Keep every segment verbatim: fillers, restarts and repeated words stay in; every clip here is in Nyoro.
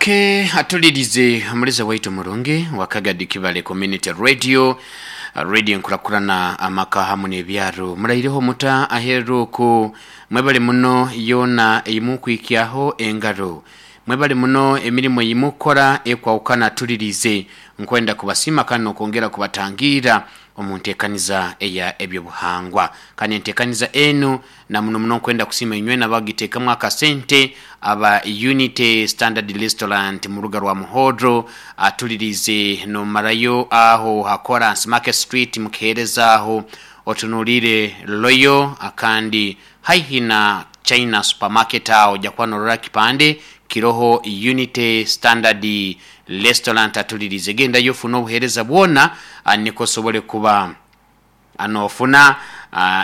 Okay, atulirize omuliza waitu murungi wakagadi Kibale Community Radio, radio nkurakurana amaka hamu n'ebyaro. Muraireho muta aheru ku mwebale muno yona eyimukwikyaho engaro, mwebale muno emirimu eyimukora ekwawukana. Tulirize nkwenda kubasiima kandi nokwongera kubatangira omu nteekaniza eya ebyobuhangwa, kandi enteekaniza enu na muno muno nkwenda kusiima inywe nabagiteekamu akasente aba Unity Standard Restaurant mu ruga rwa Muhoro. Atulirize nomarayo aho hakora Market Street mukihereza aho otunulire Royal akandi haihi na China Supermarket, aho ojja kuba norora kipande kiroho Unity Standard Restaurant. Atulirize gendayo ofuna obuheereza bwona niko osobole kuba anofuna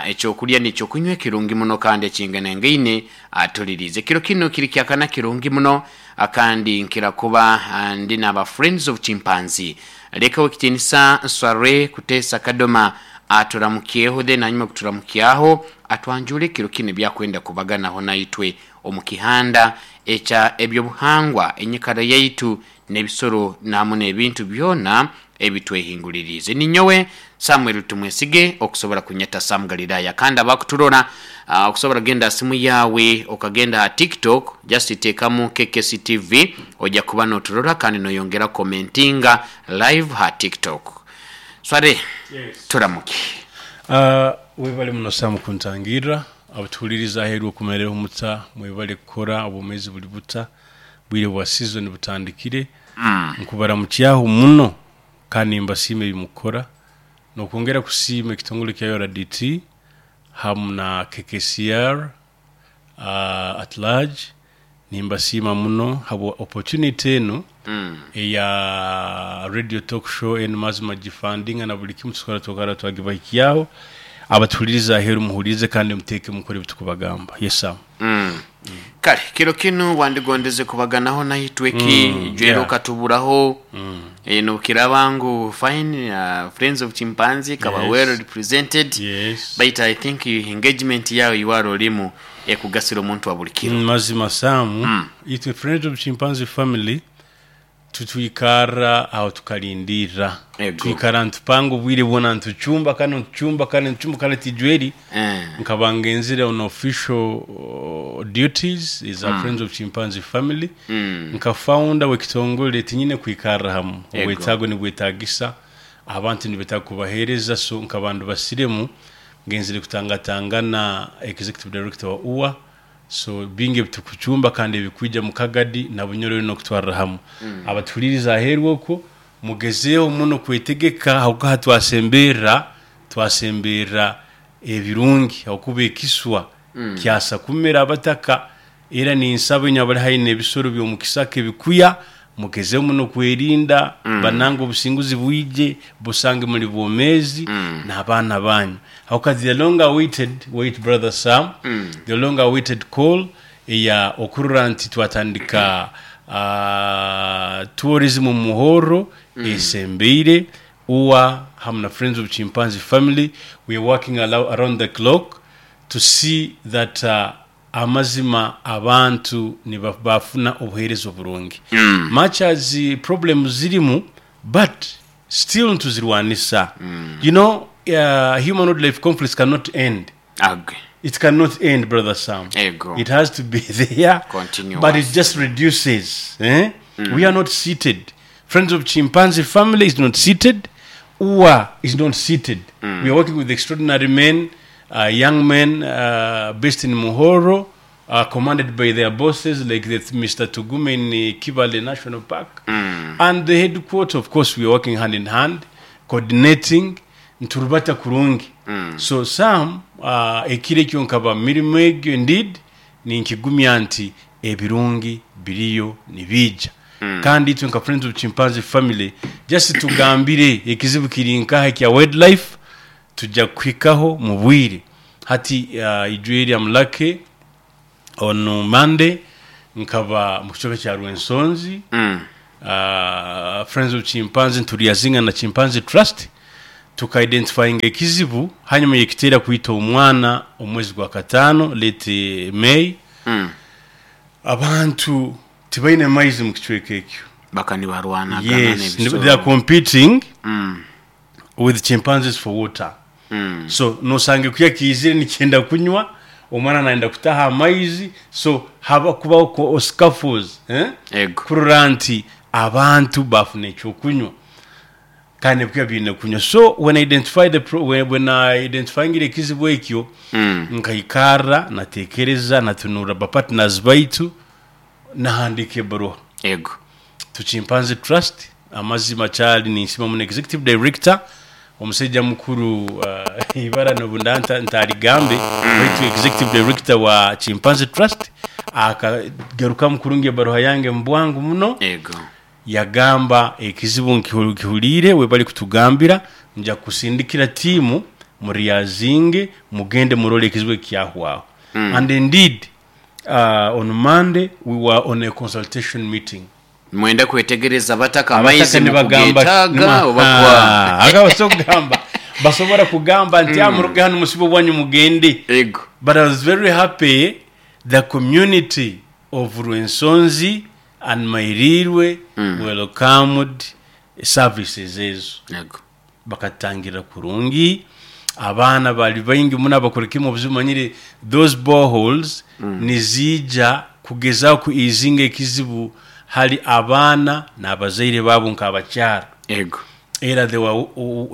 ekyokulya nekyokunywa ekirungi muno kandi ekinganangaine. Atulirize kiro kino kiri kyakana kirungi muno akandi nkira kuba ndi naba Friends of Chimpanzee. Leka wekitinisa Nsware Kutesa Kadoma aturamukyeho, then hanyuma kuturamukyaho atwanjule kiro kino byakwenda kubaganaho naitwe omu kihanda ekya ebyobuhangwa, enyikara yaitu n'ebisoro namu n'ebintu byona ebitwehingulirize. Ninyowe Samuel Tumwesige, okusobora kunyeta Sam Galilaya. Kandi abakuturora, uh, okusobora kugenda simu yawe okagenda ha TikTok, just tekamu K K C T V, ojja kuba noturora kandi noyongera commentinga live ha TikTok. Sware. Yes. Turamuke. Uh, webale muno Sam kuntangirra. Abatuhuliriza aheeru, okumereho muta? Mwebale kukora. Obwomeezi buli buta? Bwire bwa season butandikire. mm. Nkubaramukyaho muno kandi nimbasiima ebimukora nokwongera kusiima ekitongole kya U R D T hamu na K K C R uh, at large. Nimbasiima muno habwa opportunity enu Mm. eya radio talk show enu. Mazima gifundinga na buli kimu tukora tukara twagibahikyaho. Abatuhuliriza aheeru, muhulirize kandi muteeke mukore ebitukubagamba. Yes, Sam. Mm. kale kiro kinu wandigondeze kubaganaho naitwe ki? Mm, Jwero yeah. okatuburaho. mm. eh, nokiraba ngu fine, uh, Friends of Chimpanzee kaba Yes. well represented, yes but I think engagement yawe iwara olimu ekugasira omuntu wa buli kiro. Mm, mazima Samu, Mm. itwe Friends of Chimpanzee family tutwikarra aho tukalindirra. Ego. Twikara ntupanga obwire bwona, ntucumba kandi ntucumba kandi ntucumba kandi tijweri eh. nkaba ngenzire on official uh, duties is a Friends of Chimpanzee family. Mm. Nka founder w'ekitongole tinyine kwikarra hamu. Ego. Obwetaago nibwetagisa abantu, nibetaaga kubaheereza, so nkabandu basiremu ngenzire kutangatangana executive director wa U A, so bingi ebitukucumba kandi ebikwija mu Kagadi na Bunyoro nokutwarra hamu. mm. Abatuhuliriza aheeru okwo, mugezeeho muno kwetegeka ahakuba twasemberra twasemberra ebirungi, ahakuba ekiswa mm. kyasa kumera abataka. Era ninsaba inywe abali haihi n'ebisoro by'omukisaka ebikuya, mugezeho muno kwerinda mm. bananga obusinguzi bwije busange muli bwomeezi mm. n'abaana banyu, ahakuba the longer waited, wait, brother Sam, mm. the longer waited call eya okurora nti twatandika uh, tourism mu Muhoro mm. esembeire. U A hamu na Friends of Chimpanzee family, we are working around the clock to see that uh, amazima abantu bafuna obuheereza oburungi mm. much as uh, problems zirimu, but still ntuzirwanisa. mm. you know uh, human wildlife conflicts cannot end. Ag. It cannot end, brother Sam. Ego. It has to be there. Continuous. But it just reduces, eh? We are not seated. Friends of Chimpanzee family is not seated. U A is not seated. We are working with extraordinary men, uh, young men uh, based in Muhoro, uh, commanded by their bosses like the Mister Tugume in uh, Kibale National Park and the headquarters. Of course, we are working hand in hand, coordinating nturubata kurungi. So Sam, uh, ekiro ekyo nkaba mirimu egyo, indeed ninkigumya nti ebirungi biriyo nibija, kandi itwe nka Friends of Chimpanzee family, just tugambire ekizibu kiri nkaha ekya wildlife, tujja kuhikaho mu bwire. Hati uh, ijweri amulake on Monday nkaba mu kicweka kya Rwensonzi. Mm. uh, friends of Chimpanzee nturiyazinga na Chimpanzee Trust tukaidentifyinga ekizibu hanyuma yekiteera kwita omwana omwezi gwa kataano, late May. Mm. Abantu Tibaine maizi mu kicweka ekyo. Baka nibarwanagana. Yes, n'ebisoro. they are competing Mm. with chimpanzees for water. Mm. So nosanga ekuya kiizire nikyenda kunywa, omwana nayenda kutaha amaizi, so haba kubaho ko- scuffles, eh? Ego. Kurora nti abantu bafuna ekyokunywa kandi ebikuya biine kunywa. So when I identify the pro, when, when I identifyingire ekizibu ekyo, Mm. nkaikarra, natekereza, natunura bapartners baitu, nahandika ebaruha Ego. To Chimpanzee Trust. Amazima kyali ninsima muno executive director, omusajja mukuru, uh, ibara nobunda ntaligambe, baitu executive director wa Chimpanzee Trust akagarukamu kurungi ebaruha yange mu bwangu muno. Ego. Yagamba, ekizibu nkihu- nkihuliire, we bali kutugambira, nja kusindikira tiimu muriyazinge, mugende murole ekizibu ekyahwaho. mm. and indeed, uh, on Monday we were on a consultation meeting. Mwenda kwetegereza bataka Abataka amaizi nibagamba mukugetaaga oba kuwa Ah, aka kugamba basobora kugamba nti mm. Muruge hano, musibe bwanyu, mugende. Ego. But I was very happy the community of Rwensonzi and Mairirwe mm. welcomed services ezo. Ego. Bakatangira kurungi, abaana bali baingi muno abakora kimu obuzibu. Manyire those boreholes mm. nizija kugezaho ku easinga ekizibu hali abaana n'abazaire baabo nk'abakyara. Ego. Era they were,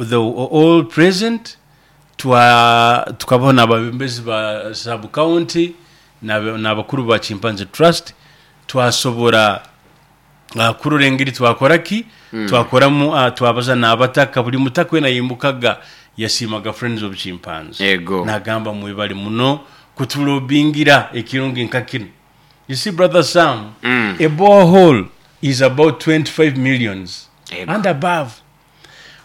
they were all present. Twa tukabaho n'ababembezi ba sub county n'abakuru ba Chimpanzee Trust. Twasobora uh, kurora engeri twakora ki mm. twakoramu, uh, twabaza n'abataka. Buli mutaka wena yimbukaga yasiimaga Friends of Chimpanzee. Ego. Nagamba, mwebali muno kutulobingira ekirungi nka kino. You see, Brother Sam, Mm. a borehole is about twenty-five millions Ego. and above.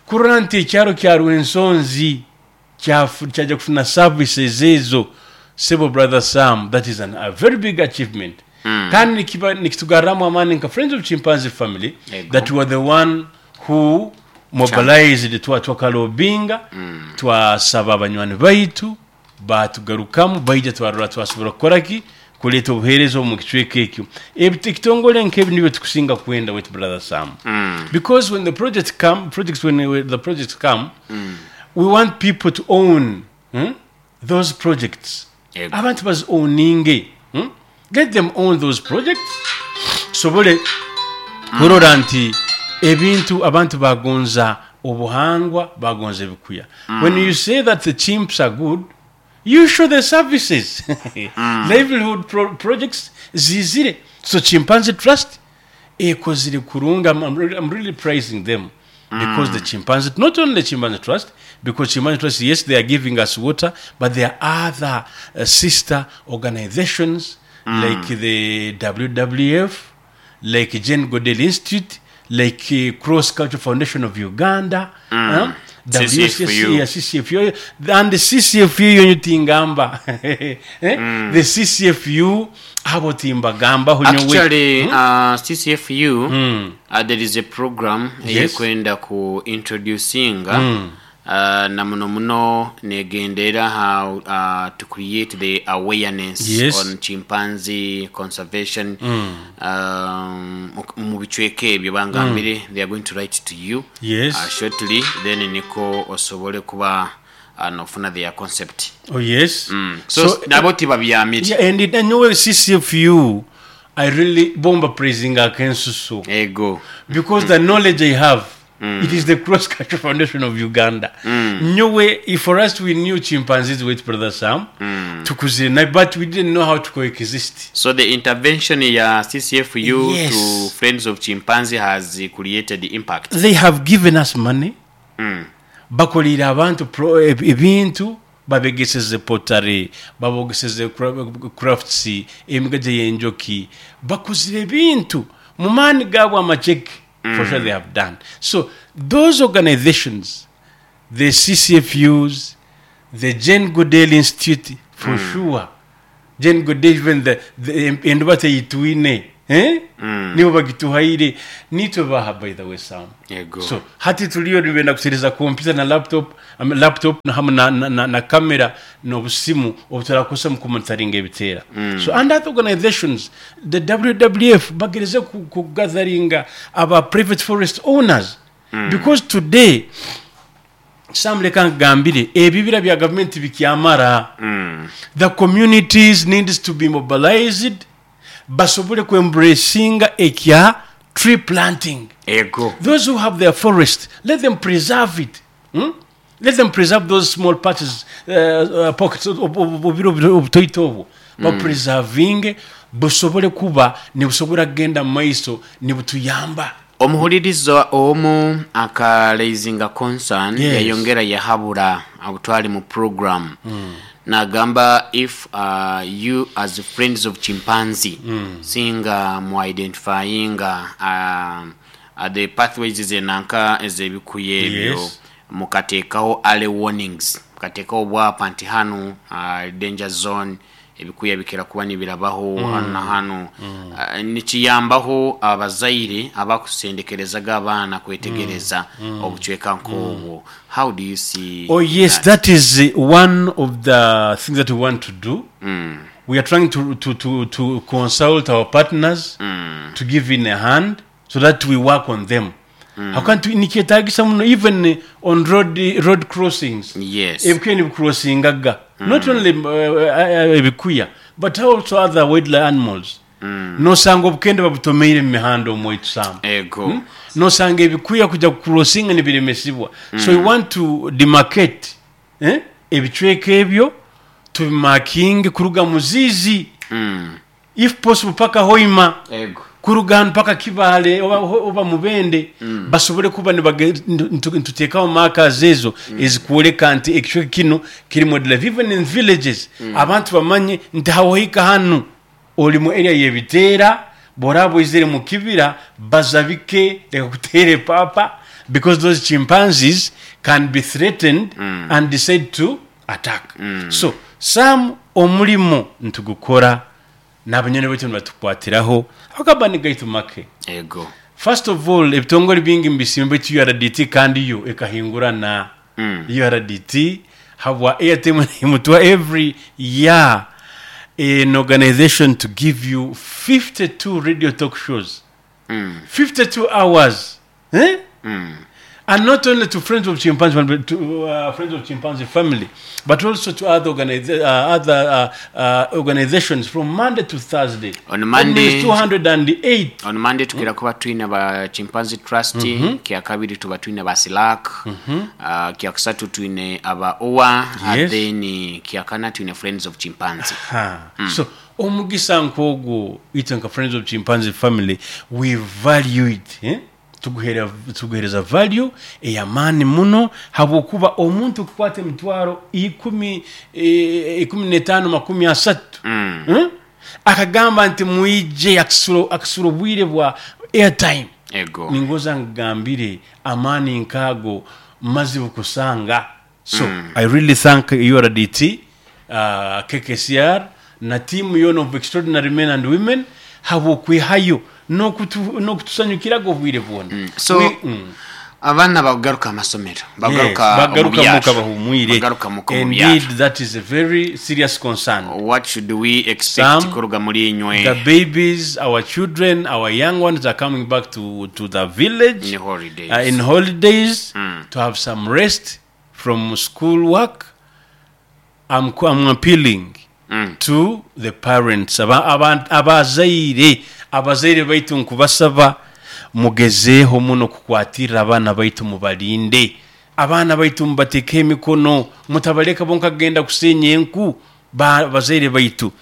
Kurora nti ekyaro kya Rwensonzi kyafu- kyajja kufuna services ezo, sebo Brother Sam, that is an, a very big achievement. mm. kandi nikiba- nikitugarramu amaani nka Friends of Chimpanzee family Ego. that we are the one who mobilized, twa twakalobinga, mm. twasaba abanywani baitu, batugarukamu, baija, twarora twasobora kukora ki, kuleeta obuheereza omu kicweka ekyo. Ebi- ekitongole nkebi nibyo tukusinga kwenda with Brother Sam, Mm. because when the project come projects when, when the projects come, mm. we want people to own, hmm, those projects. Ego. Abantu bazi-owninge, hmm? Let them own those projects, tusobole kurora nti ebintu abantu bagonza obuhangwa, bagonza ebikuya. When you say that the chimps are good, you show the services, livelihood pro projects zizire. So Chimpanzee Trust ekozire kurunga. I'm, I'm, really, I'm really praising them because the chimpanzee, not only the Chimpanzee Trust, because Chimpanzee Trust, yes, they are giving us water, but there are other uh, sister organizations like the W W F, like Jane Goodall Institute, like uh, Cross Culture Foundation of Uganda, huh? C C F U. W C C, yeah, C C F U, and the C C F U yonyu tingamba, eh? The C C F U abo timbagambaho nyowe. Actually, uh, C C F U, uh, there is a program Yes. eyekwenda ku introducinga, uh, na muno muno negendera how uh, to create the awareness Yes. on chimpanzee conservation um, mu bicweka ebyo. Bangambire they are going to write to you Yes. uh, shortly, then niko osobole kuba uh, nofuna their concept. Oh yes. mm. so, so nabo tibabyamire. Yeah, and it, nyowe C C F U, I really bomba praising akensusu Ego. Because the knowledge I have, it is the Cross Culture Foundation of Uganda. Nyowe, if for us we knew chimpanzees with Brother Sam, tukuzire, but we didn't know how to coexist. So the intervention ya C C F U Yes. to Friends of Chimpanzee has uh, created impact. They have given us money. Mm. Bakolera abantu pro- eb- ebintu, babegeseze pottery, babogeseze cra- crafts, emigaje y'enjoki, bakozire ebintu mu maani gaabwe amaceke. For sure they have done so. Those organizations, the C C F Us, the Jane Goodall Institute, for sure Jane Goodall, even the, the enduba teyitwine, eh? Eh? Nibo bagituhaire, nitwe baha, by the way, Sam. Yego. So hati tuliyo nibenda kutereza computer na laptop, um, laptop na hamwe na, na, na, na kamera n'obusimu obuturakozesa mu kumonitoringa ebiteera. So and other organizations, the W W F bagereze ku, ku gatheringa aba private forest owners, because today, Sam, leka nkugambire, ebibira bya gavumenti bikyamara. The communities needs to be mobilized basobole kuembracinga ekya tree planting. Ego. Those who have their forest, let them preserve it, hmm? Let them preserve those small patches, uh, uh, pockets obubira obutoito obwo, bapreservinge busobole kuba nibusobora kugenda mu maiso nibutuyamba. Omuhuliriza omu akaraisinga concern. Yes. Yayongera yahabura abutwali mu program, nagamba if uh, you as Friends of Chimpanzee singa mu identifyinga uh, uh, the pathways zenanka ezebikuya ebyo, Yes. mukateekawo early warnings, mukateekawo obwapa nti hanu uh, danger zone, ebikuya bikira kuba nibirabaho hanu na hanu, uh, nikiyambaho abazaire abakusendekerezaga abaana kwetegereza obucweka nk'obwo. How do you see Oh yes, that? That is uh, one of the things that we want to do. We are trying to, to, to, to consult our partners to give in a hand so that we work on them. How can't we nikyetagisa muno even uh, on road road crossings. Yes ebikuya nibicrossingaga, not only uh, uh, ebikuya but also other wildlife animals. Nosanga obukende babutomeire mu mihanda omwaitu, Sam. Ego. Nosanga ebikuya kujya kucrossinga nibiremesibwa. So we want to demarcate, eh? Ebicweka ebyo tubimarkinge kuruga Muzizi, Mm. if possible paka Hoima, Ego. kuruga hano paka Kibale oba, oba Mubende, basobole kuba nibage- ntu- ntuteekawo markers ezo ezikwoleka nti ekicweka kino kirimu wildlife. Even in villages, abantu bamanye nti hawohika hanu oli mu area yebiteera, bworaba oizire mu kibira bazabike, leka kuteera epapa, because those chimpanzees can be threatened and decide to attack. So some omulimo ntugukora n'abanyoni baitu nibatukwatiraho akabani gaitu make. Ego. First of all, ebitongole bingi mbisimba, baitu U R D T kandi yo ekahingurana. Mm. U R D T habwa airtime imutwa every year an organization to give you fifty-two radio talk shows, Mm. fifty-two hours, eh? Mm. And not only to Friends of Chimpanzee, but to uh, Friends of Chimpanzee family, but also to other, organiza- uh, other uh, uh, organizations from Monday to Thursday. On Monday- That means two hundred eight. On Monday tukira kuba twine ba Chimpanzee Trust, kyakabiri tuba twine ba Silak, uh, kyakusatu twine aba owa, Yes. then kyakana twine Friends of Chimpanzee. Ha. So omugisa nk'ogwo, itwe nka Friends of Chimpanzee family we value it, eh? Tuguhera- tuguhereza value ey'amaani muno, habwokuba omuntu kukwata emitwaro ikumi, eh, ikumi n'etaano, makumi asatu, Mm. Hmm? Akagamba nti mwije, akasura akasura obwire bwa airtime. Ego. Ningoza ngambire amaani nkaago mazibu kusanga. So I really thank U R D T, uh, K K C R na tiimu yona of extraordinary men and women habwokwihayo n'okutu- n'okutusanyukiraga obwire bwona. So We- mm. abaana bagaruka amasomero, bagaruka Yes, bagaruka omu byaro. muka bahumwire. Bagaruka muka mu byaro. Indeed, that is a very serious concern. What should we expect Some- kuruga muri inywe? The babies, our children, our young ones are coming back to, to the village In holidays. uh, in holidays to have some rest from school work. I'm, I'm appealing Mm. to the parents, aba- aba- abazaire abazaire baitu, nkubasaba mugezeeho muno kukwatirira abaana baitu, mubalinde abaana baitu, mubateeke emikono, mutabaleka bonka kugenda kusenya enku. Ba- bazaire baitu,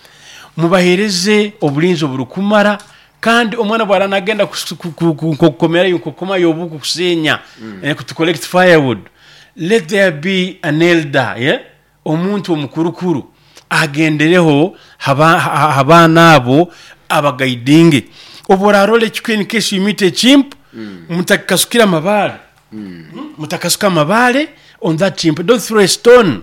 mubahereze obulinzi oburukumara, kandi omwana bwara nagenda kukomerayo nkokomayo obuku kusenya, eh, to collect firewood, let there be an elder, yeah? Omuntu omukurukuru agendereho haba- ha- abaana abo abaguidinge. Obu orarora ekikuya, in case you meet a chimp, mutakasukira amabaale. Mm, mutakasuka amabaale on that chimp. Don't throw a stone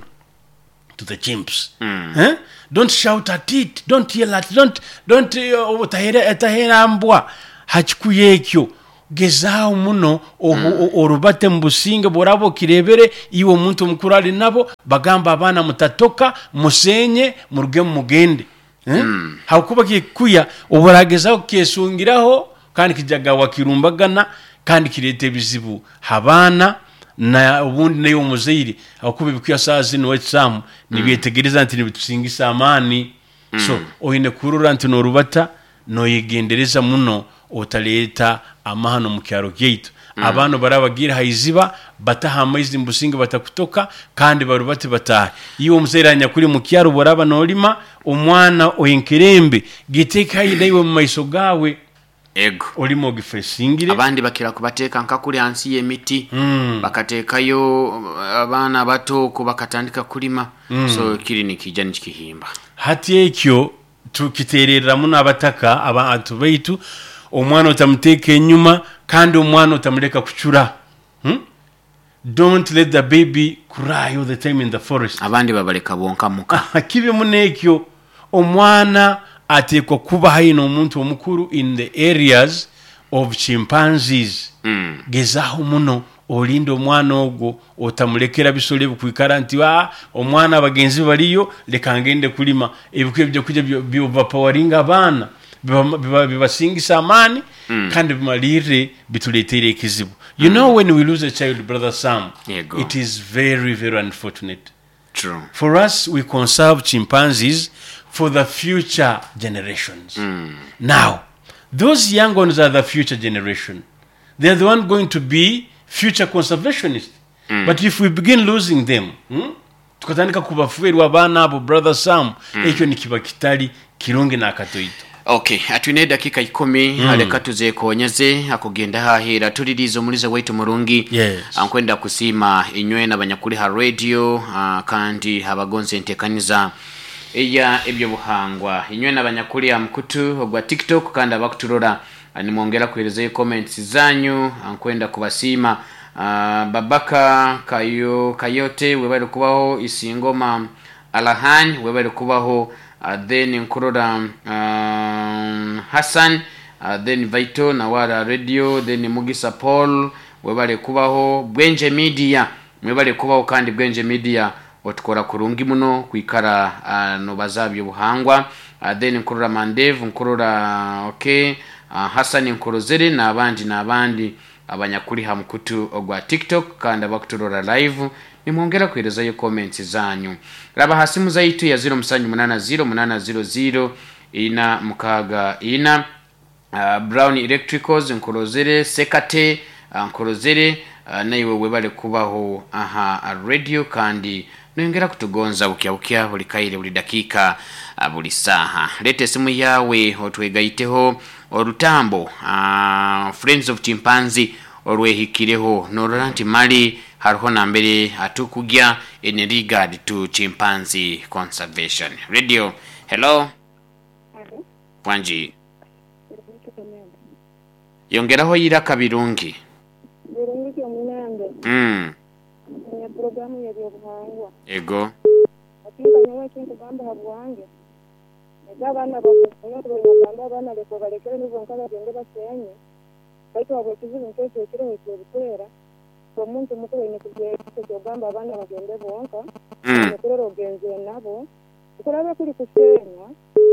to the chimps. Eh? Don't shout at it, don't yell at it, don't don't uh, otahera otahera mbwa hakikuya ekyo. Gezaaho muno obu- o- orubate mu businge bworaba okirebere iwe omuntu omukuru ali nabo bagamba abaana mutatoka, musenye, murugemu mugende. Eh? Hakuba kikuya oburagezaho kyesungiraho kandi kijagawa kirumbagana kandi kireta ebizibu habaana na obundi naye omuzaire, hakuba ebikuya saa zino ekisamu nibyetegereza nti nibitusingisa amaani. So oine kurora nti norubata noyegendereza muno otaleta amahano mu kyaro kyaitu. Abaana barabagira haiziba bataha amaizi mubusinge batakutoka kandi barubate batahe. Iwe omuzaire anyakuri mu kyaro boraba nolima omwana oyenkerembe giteeka haihi naiwe mu maiso gawe. Ego. Olima ogifesingire. Abandi bakira kubateeka nka kuli hansi y'emiti, bakateekayo abaana bato okwo bakatandika kulima. So kiri nikija nikihimba. Hati ekyo tukitererera muno abataka abantu baitu, omwana otamuteeka enyuma kandi omwana otamuleka kucura. Hmm? Don't let the baby cry all the time in the forest. Abandi babaleka bonka muka. Kibi muno ekyo. Omwana ateekwa kuba haihi n'omuntu omukuru in the areas of chimpanzees. Mm. Gezaaho muno olinde omwana ogwo otamulekera bisolo ebikwikara nti ah, omwana abagenzi baliyo leka ngende kulima. Ebikuya ebyokurya byo- byobapawaringa abaana biba- biba- bibasingisa amaani kandi bimalirire bituleetere ekizibu. You know, when we lose a child, Brother Sam, Yego. it is very, very unfortunate. True. For us, we conserve chimpanzees for the future generations. Now, those young ones are the future generation. They are the one going to be future conservationists. But if we begin losing them, hmm, tukatandika kubafuerwa abaana abo, Brother Sam, ekyo nikiba kitali kirungi n'akatoito. Okay, atwine edakika ikumi mm. Aleka tuzekonyeze akugenda hahera tuliriza omuliza waitu murungi. Yes. Ankwenda kusiima inywe n'abanyakuli ha radio, uh, kandi abagonze entekaniza eya ebyobuhangwa, inywe n'abanyakuli ha mukutu ogwa TikTok kandi abakuturora, ah, nimwongera kuherezayo comments zanyu. Ankwenda kubasiima. uh, babaka kayo kayote webali kubaho, Isingoma Alahan webali kubaho, uh, then nkurora um, Hassan, uh, then Vaito Nawara Radio, then Mugisa Paul webale kubaho, Bwenje Media mwebale kubaho, kandi Bwenje Media otukora kurungi muno kwikara uh, nobaza byobuhangwa. uh, then nkurora Mandev, nkurora okay, uh, Hassan Nkurozere n'abandi n'abandi abanyakuli ha mukutu ogwa TikTok kandi abakuturora live, nimwongera kuherezayo comments zanyu. Raba ha simu zaitu ya zero musanju munana zero munana zero zero ina mukaga ina. uh, Brown Electricals Nkurozere, Sekate uh, Nkurozere, uh, naiwe webale kubaho aha radio kandi nongera kutugonza bukya bukya buli kaire buli dakika, uh, buli saha. Leta esimu yawe otwegaiteho orutambo uh, Friends of Chimpanzee olwehikireho norora nti mali hariho nambere atukugya in regard to chimpanzee conservation. Radio, hello. Wanji, yongeraho iraka birungi. Birungi kyomunange. Mm. Nya programu y'ebyobuhangwa. Ego. Atinka nyowe ekinkugamba ha bwange, ega abaana bakunoogamba abaana leka obalekere nibo nka bagende basenye, baitu habw'ekizibu nk'ekyo ekiroho eky'obukwera, omuntu mukuru aine kugyogamba abaana bagende bonka. Mm. Okurora ogenzere nabo kuraba kuri kusenya,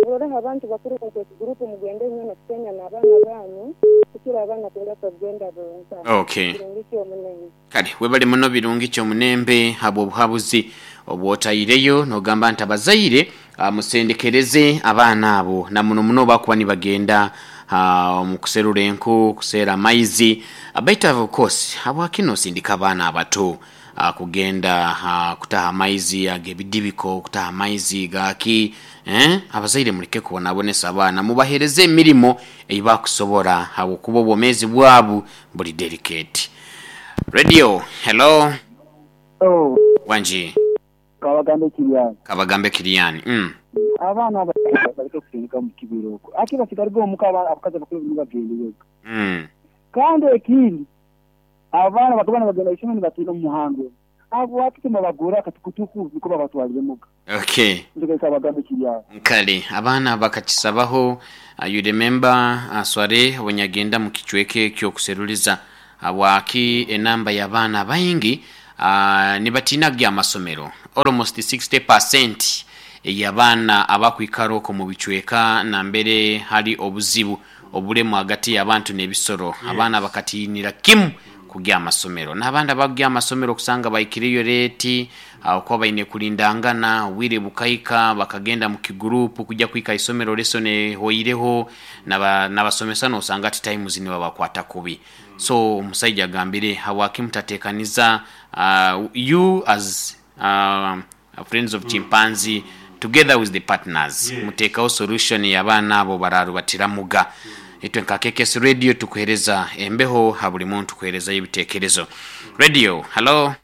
muroreho abantu bakuru nk'ekigurupu mugende nyine kusenya n'abaana banyu kukira abaana kuleka kugenda bonka. Okay. Kirungi kyomunene. Kale webale muno birungi kyomunembe habwo obuhabuzi obwotaireyo nogamba nti abazaire ah, musendekereze abaana abo na muno muno bakuba nibagenda ah, mu kuserura enku, kuseera amaizi. Ah, baitu of course habwaki nosindika abaana abato ah, kugenda ah, kutaha amaizi ag'ebidibiko, kutaha amaizi gaki, eh? Abazaire muleke kubonabonesa abaana, mubahereze emirimo eibakusobora habwokuba obwomeezi bwabu buli delicate. Radio, hello. Oh, Wanji. Kabagambe Kiriani. Kabagambe Kiriani. Mm. Abaana aba- baleke kusindika mu kibira okwo. Ate basigaliga omuka aba- abakazi abakuru nibagendeyo. Mm. Kandi ekindi, abaana bakaba nibagenda isomero nibatiina omu muhanda. Habwaki timubagura akatukutuku niko babatwalire muka? Okay. Ndio bagambe kiri aho. Kale abaana bakakisabaho. uh, you remember uh, sware wenyagenda mu kichweke ekyokuseruliza habwaki enamba y'abaana baingi uh, nibatinaga amasomero, almost sixty percent y'abaana abakwikara okwo mu bicweka nambere hari obuzibu obulemu hagati y'abantu n'ebisoro, yes. Abaana bakatinira kimu kugya amasomero, n'abandi abagya amasomero okusanga baikiriyo late, okuba baine kulindangana obwire bukaika, bakagenda mu kigurupu kujya kwika isomero lesson ehoireho, n'abasomesa nosanga ati times nibabakwata kubi. So omusajja agambire, habwaki mutatekaniza uh, you as uh, Friends of Chimpanzee together with the partners, Yes. muteekawo solution y'abaana abo bararubatiramuga. Itwe nka K K S Radio tukuhereza embeho ha buli muntu kuherezayo ebitekerezo. Radio, hello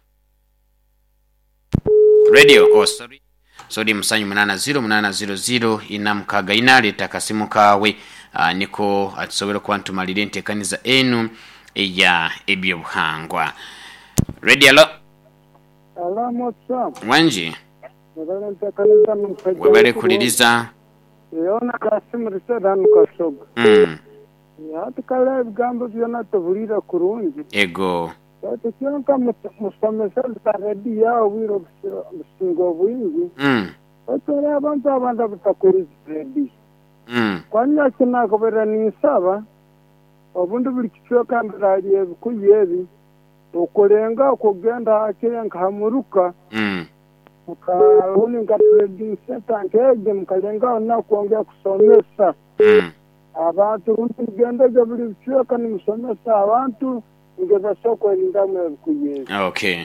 radio. Oh, sorry, sorry. Musanju munana zero munana zero zero ina mukaga ina, leta akasimu kawe, uh, niko atusobora kuba ntumalire entekaniza enu eya ebyobuhangwa. Radio, hello. Alamu Sam, Wanji. webale ntekaniriza n'omusajja. Webale kuliriza. Yona kasimurise hano Kasoga. mm. Hati kale ebigambo byona tubulire kurungi. Ego. Ati kyonka musomesa za rediyo aho obwire obusinga obwingi. mm. Otore abantu abandi abutakuriza rediyo. Mm. Kwanya kinakobera ninsaba obundi buli kicweka mbirali ebikuyu ebi okulenga okugenda hakire nkahamuruka Mm. mukabuni nka trading center nkege mukalengaho nakwongera kusomesa Mm. abantu, rundi mugendege buli bicweka nimusomesa abantu nge basobola kwerindamu ebikuyu ebi. Okay.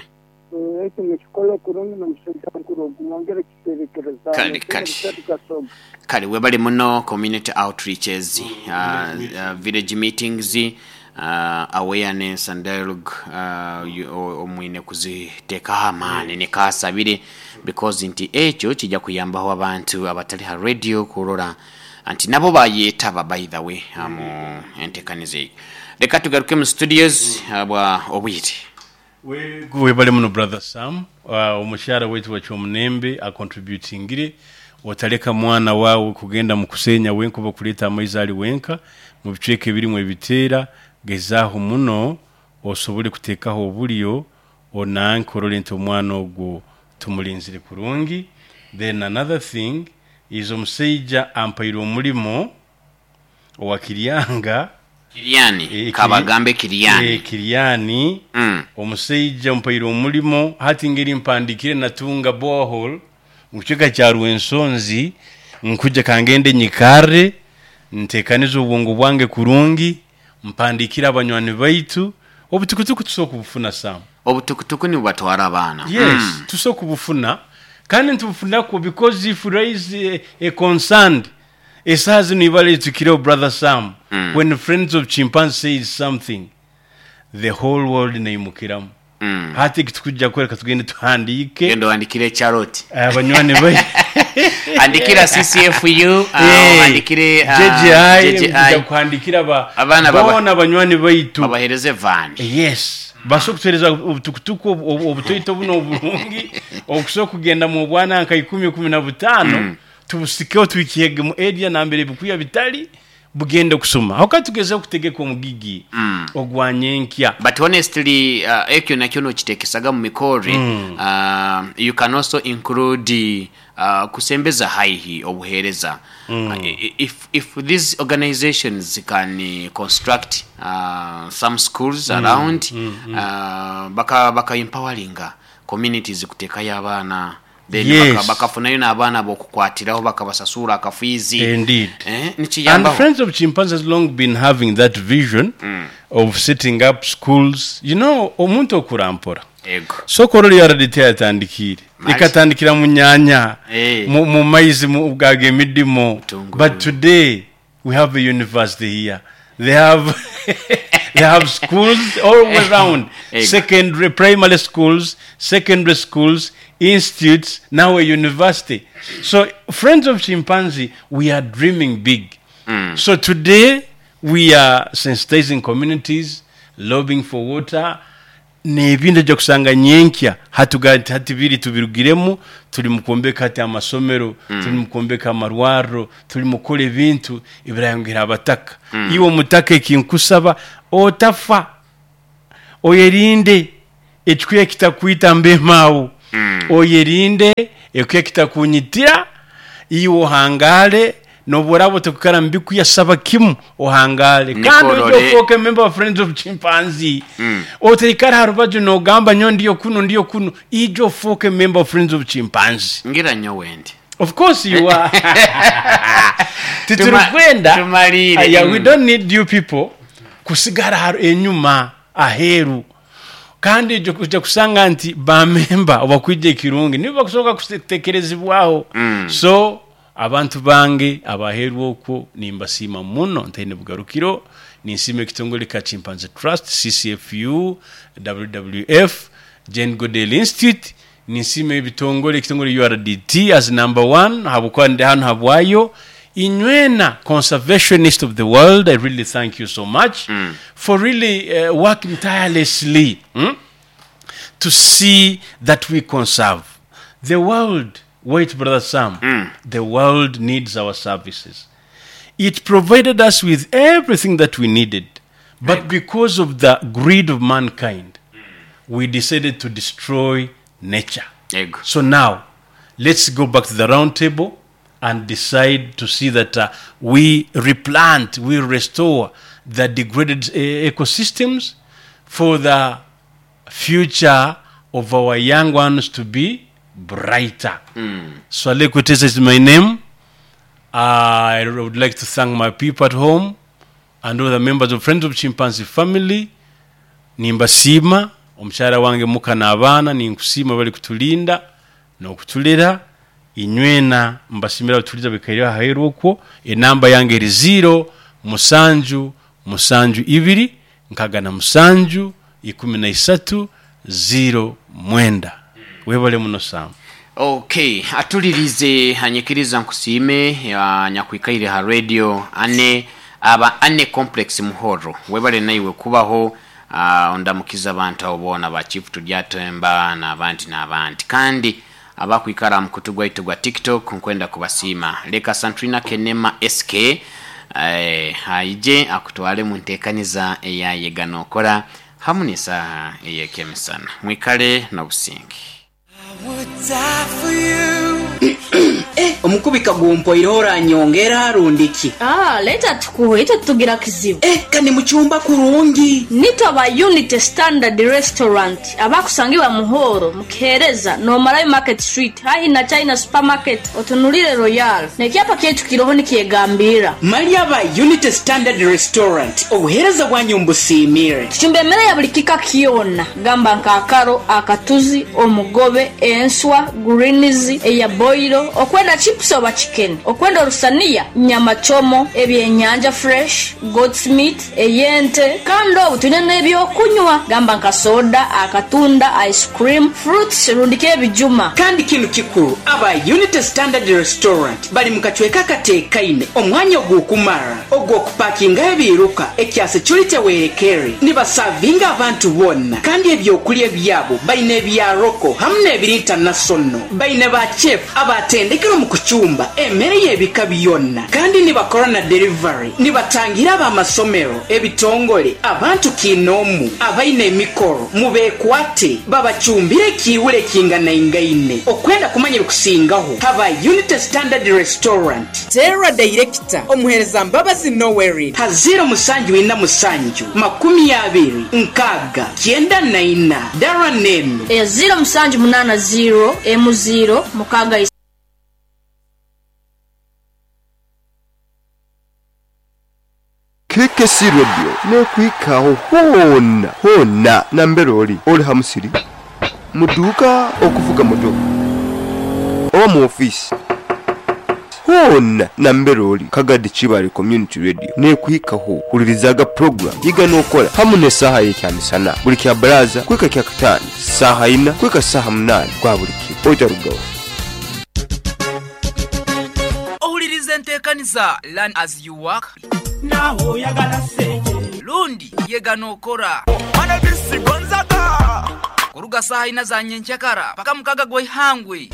Eki mukikole kurungi nomusajja mukuru ogu mwongere kiterekereza. Kale, kale. Kasoga. Kale webale muno. Community outreaches, uh, uh, village meetings, uh, awareness and dialogue, uh, you- o- omwine kuziteekaho amaani nekasabire, because nti ekyo kijja kuyambaho abantu abatali ha radio kurora nti nabo bayetaba. By the way, uh, mu entekaniza eyo, leka tugaruke mu studios uh, bwa obwire. Webale muno, brother Sam. uh, omukyala waitu wakyomunembe acontributingire, otaleka mwana wawe kugenda mu kusenya wenka oba kuleeta amaizi ali wenka mu bicweka ebirimu ebiteera. Gezaaho muno osobole kuteekaho obulyo onanke orole nti omwana ogwo tumulinzire kurungi. Then another thing is omusaija ampaire omulimo owa Kiryanga. Kiryani. Eh, Kabagambe Kiri- Kiryani. Eh, Kiryani. mm. Omusajja mpaire omulimo hati ngeri mpandikire natunga borehole mu kicweka kya Rwensonzi, nkujja kangende nyikare ntekanize obwongo bwange kurungi, mpandikire abanywani baitu obutukutuku tusobola kubufuna, Sam. Obutukutuku nibubatwara abaana. Yes. Mm. Tusobola kubufuna kandi ntubufunako because if you raise a, a concern esaha zino ibala etukireho, brother Sam, Mm. when Friends of Chimpanzee says something, the whole world neimukiramu. Mm. Hati kitukujja kwereka tugende tuhandike. Genda oandikire Charlotte. Abanywani bai Andikira C C F U, uh, Eh, andikire uh, J J I. J J I. Kuja kuhandikira ba Abaana baba- bona abanywani baitu. Babahereze van. Yes, basobola kutuhereza obutukutuku obu- obu- obutoito buno obulungi okusobola kugenda mu bwana nka ikumi kumi na butaano, tubusikeho twikihege mu area nambere ebikuya bitali bugende kusoma aho kandi tugezeho kutegeka omugigi ogwa nyenkya. But honestly, uh, ekyo nakyo nokitekesaga mu mikore. mm. uh, you can also include uh, kusembeza haihi obuhereza. mm. uh, if, if these organizations can uh, construct uh, some schools mm. around, mm, mm. Uh, baka, baka empoweringa communities kuteekayo abaana, then Yes. baka- bakafunayo n'abaana bokukwatiraho bakabasasura akafiizi. Indeed. Eh, And nikiyambaho. Friends of Chimpanzees has long been having that vision of setting up schools. You know, omuntu okurampora. Ego. Sokoro U R D T yatandikire. Mali. Ikatandikira mu nyanya, Eh. mu, mu maizi mu bwaga emidimo. Butungulu. But today we have a university here. They have they have schools all around. Ego. Secondary, primary schools, secondary schools, institutes, now a university. So Friends of Chimpanzee, we are dreaming big. So today we are sensitizing communities, lobbying for water. N'ebindi ojja kusanga nyenkya hatuga nti hati biri tubirugiremu, tuli mu kwombeka hati amasomero, mm. tuli mu kwombeka amarwarro, tuli mu kukola ebintu ebirayongera abataka. mm. Iwe omutaka ekinkusaba, otafa, oyerinde ekikuya kitakwita mbemaawo. mm. Oyerinde ekuya kitakunyitira, iwe ohangale noburabo tekukara mbikuya, saba kimu ohangale kandi Nikorore. ojja ofoke member of Friends of Chimpanzee. mm. Oteikara harubaju nogamba nyo ndiyo kuno ndiyo kuno, ijo ofoke member of Friends of Chimpanzee. Ngira nyo wendi. Of course you are. Titurukwenda Tumalire. Aya, we Mm. don't need you people kusigara haru enyuma aheru, kandi ojja ojja kusanga nti bamemba obakwija ekirungi nibo bakusobola kutekerezibwaho. mm. So abantu bange abaheru okwo nimbasiima muno ntaine bugarukiro. Ninsiima ekitongole ka Chimpanzee Trust, C C F U, W W F, Jane Goodall Institute. Ninsiima ebitongole, ekitongole U R D T as number one, habwokuba ndi hano habwayo. Inywena conservationist of the world, I really thank you so much mm. for really uh, working tirelessly mm? to see that we conserve the world. Wait, Brother Sam, mm. the world needs our services. It provided us with everything that we needed, but because of the greed of mankind, we decided to destroy nature. Yego. So now, let's go back to the round table and decide to see that uh, we replant, we restore the degraded uh, ecosystems for the future of our young ones to be brighter. Mm. Swale Kutesa is my name. I would like to thank my people at home and all the members of Friends of Chimpanzee family. Nimbasiima, omukyala wange muka n'abaana, ninkusiima bali kutulinda n'okutulera. Inywena mbasimira batuliza bikaire aheru okwo. Enamba yange eri zero musanju musanju ibiri nkaga na musanju ikumi na isatu zero mwenda. Webale muno, Sam. Okay, atulirize anyikiriza nkusiime ah, nyakwikaire ha radio ane aba ane complex muhoro, webale naiwe kubaho. uh, ondamukiza abantu abo boona ba Chief Turyatemba n'abandi n'abandi, kandi abakwikara mukutu gwaitu gwa TikTok nkwenda kubasiima. Leka Santrina Kenema S K eh, aije akutwale mu nteekaniza eyayega nokora hamu n'esaaha ey'ekyemisana. Mwikale n'obusinge. Omukubika gumpoireho, oranyongera rundiki? Ah, leta tukuhe, ito tugira kizibu. Eh, kandi mucyumba kurungi. Nito aba Unity Standard Restaurant abakusangibwa Muhoro mukihereza nomarayo Market Street hahi na China Supermarket, otunulire Royal nekyapa kyaitu kiroho nikyegambira. Mali aba Unity Standard Restaurant, obuhereza bwanyu mbusiimire. Tucumba emmere ya buli kika kyona, gamba nk'akaro, akatuzi, omugobe, enswa, greens eya boilo, okwenda chips oba chicken, okwenda orusaniya, nyama chomo, ebyenyanja fresh, goat's meat, eyente. Kandi obu tulina n'ebyokunywa, gamba nka soda, akatunda, ice cream, fruits rundiko ebijuma. Kandi kinu kikuru, aba Unity Standard Restaurant bali mu kacweka kateekaine, omwanya ogw'okumara ogw'okupakingaho ebiruka ekya security werekere, nibasavinga abantu bonna. Kandi ebyokulya byabo balina ebya local hamu n'ebiri international. Balina ba chef abatendekere mu kucumba emmere y'ebika byonna, kandi nibakora na delivery. Nibatangira ab'amasomero, ebitongole, abantu kinoomu abaina emikoro, mubeekwate babacumbire ekiiwule ekinganaingaine. Okwenda kumanya ebikusingaho, haba Unity Standard Restaurant. Tera director omuhereza Mbabazi Nowerid ha zero musanju ina musanju makumi abiri nkaaga kyenda na ina dara nenu Eya zero musanju munana zero emu zero mukaga. K K C Radio nekwikaho hona hona nambere oli oli ha musiri, muduuka, okuvuga motoka oba mu ofiisi, hona nambere oli Kagadi Kibale Community Radio nekwikaho. Hulirizaga program yiga n'okola hamu n'esaaha y'ekyamisana buli kya baraza kwika kya kataano saaha ina kwika saaha munaani gwa buli kiro, oitarugaho. Ohuliriza enteekaniza Learn As You Work lundi yega n'okora. Kuruga saha ina za nyenchakara paka mukaga gwa ihangwe.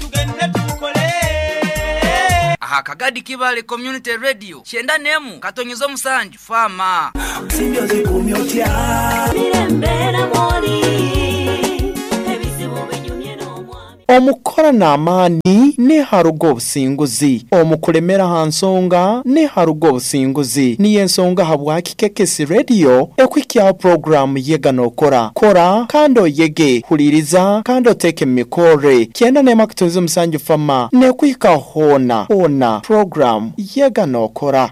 Aha Kagadi Kibale Community Radio. Shenda nemu katonyezo musanju fama. Omukora n'amaani neharuga obusinguzi, omukulemera ha nsonga neharuga obusinguzi. Niyo ensonga habwaki K K C Radio ekwikyaho programu Yega Nokora. Kora kandi oyege, huliriza kandi oteeke mu mikore. Kyenda n'emu akatonzi omusanju fama nekwika hoona hoona, programu Yega Nokora.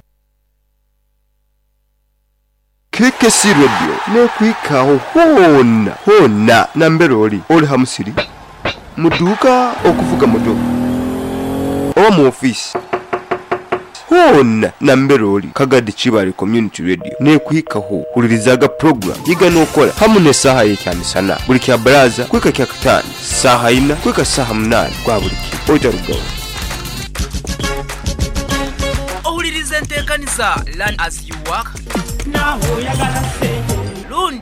K K C Radio nekwikaho hoona hoona nambere oli oli ha musiri, mu dduuka, okuvuga motoka oba mu ofiisi, hoona nambere oli, Kagadi Kibale Community Radio nekwikaho. Hulirizaga program Yiga Nokora hamu n'esaaha y'ekyamisana buli kya baraza kwika kya kataano saaha ina kwika saaha munaani gwa buli kiro. Otarugaho. Ohuliriza enteekaniza Learn as you work. Lundi